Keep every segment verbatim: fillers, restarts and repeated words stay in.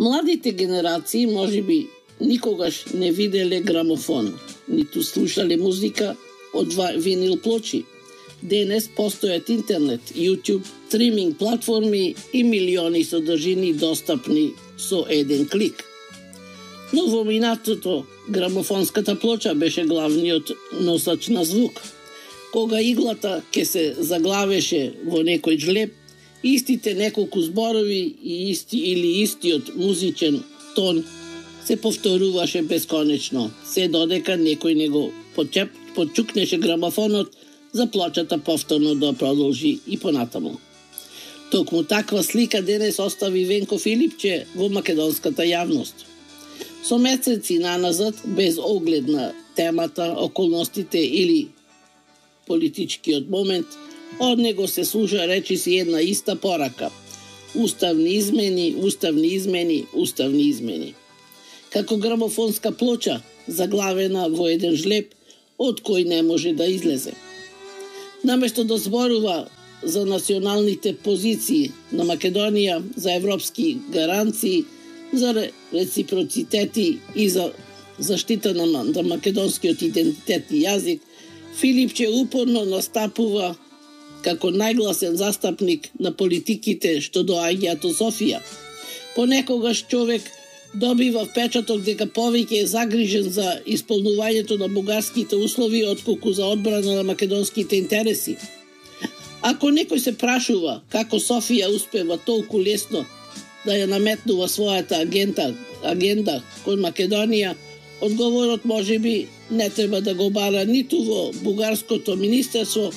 Младите генерации можеби никогаш не виделе грамофон, ниту слушале музика од винил плочи. Денес постојат интернет, YouTube, стриминг платформи и милиони содржини достапни со еден клик. Но во минатото грамофонската плоча беше главниот носач на звук. Кога иглата ке се заглавеше во некој жлеб, истите неколку зборови и исти или истиот музичен тон се повторуваше бесконечно, се додека некој него почеп, почукнеше грамофонот за плочата повторно да продолжи и понатаму. Токму таква слика денес остави Венко Филипче во македонската јавност. Со месеци наназад, без оглед на темата, околностите или политичкиот момент, од него се слуша речиси една иста порака. Уставни измени, уставни измени, уставни измени. Како грамофонска плоча, заглавена во еден жлеб, од кој не може да излезе. Наместо да зборува за националните позиции на Македонија, за европски гаранции, за реципроцитети и за заштита на, на македонскиот идентитет и јазик, Филипче упорно настапува како најгласен застапник на политиките што доаѓаат од Софија. Понекогаш човек добива впечаток дека повеќе е загрижен за исполнувањето на бугарските услови отколку за одбрана на македонските интереси. Ако некој се прашува како Софија успева толку лесно да ја наметнува својата агента, агенда кон Македонија, одговорот можеби не треба да го бара ниту во бугарското министерство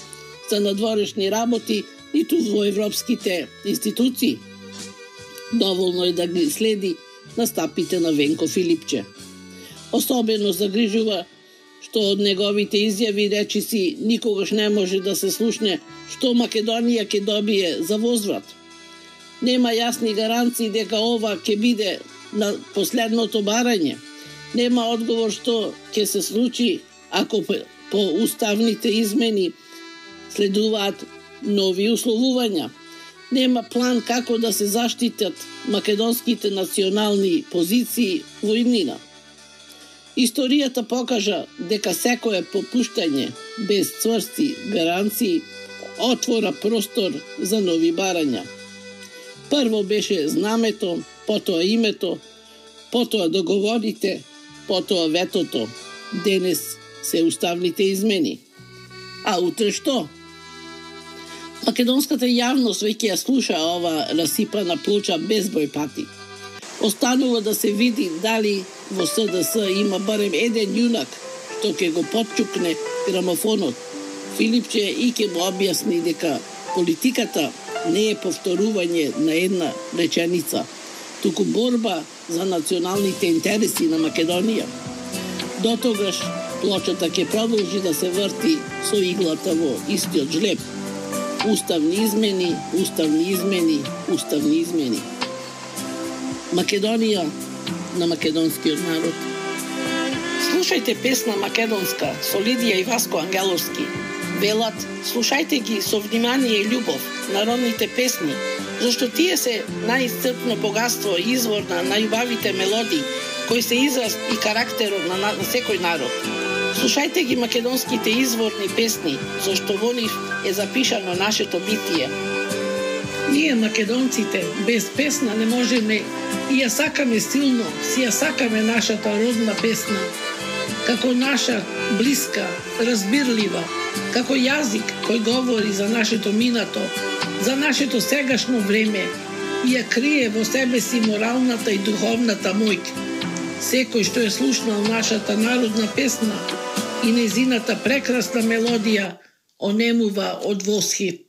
за надворешни работи, ниту во европските институции. Доволно е да ги следи настапите на Венко Филипче. Особено загрижува што од неговите изјави речиси никогаш не може да се слушне што Македонија ќе добие за возврат. Нема јасни гаранции дека ова ќе биде на последното барање. Нема одговор што ќе се случи ако по уставните измени следуваат нови условувања. Нема план како да се заштитат македонските национални позиции во иднина. Историјата покажа дека секое попуштање без цврсти гаранции отвора простор за нови барања. Прво беше знамето, потоа името, потоа договорите, потоа ветото. Денес се уставните измени. А утре што? Македонската јавност веќе ја слуша ова расипана плоча безброј пати. Останува да се види дали во С Д С има барем еден јунак што ќе го потчукне грамофонот. Филипче и ќе му објасни дека политиката не е повторување на една реченица, туку борба за националните интереси на Македонија. Дотогаш плочата ќе продолжи да се врти со иглата во истиот жлеб. Уставни измени, уставни измени, уставни измени. Македонија на македонскиот народ. Слушајте песна македонска со Лидија и Васко Ангеловски. Велат, слушајте ги со внимание и љубов народните песни, зашто тие се најисцрпно богатство и извор на најубавите мелодии, кои се израз и карактерот на, на секој народ. Слушајте ги македонските изворни песни, зашто во нив е запишано нашето битие. Ние македонците без песна не можеме и ја сакаме силно, си ја сакаме нашата родна песна, како наша блиска, разбирлива, како јазик кој говори за нашето минато, за нашето сегашно време и ја крие во себе си моралната и духовната моќ. Секој што е слушнал нашата народна песна и незината прекрасна мелодија онемува од восхит.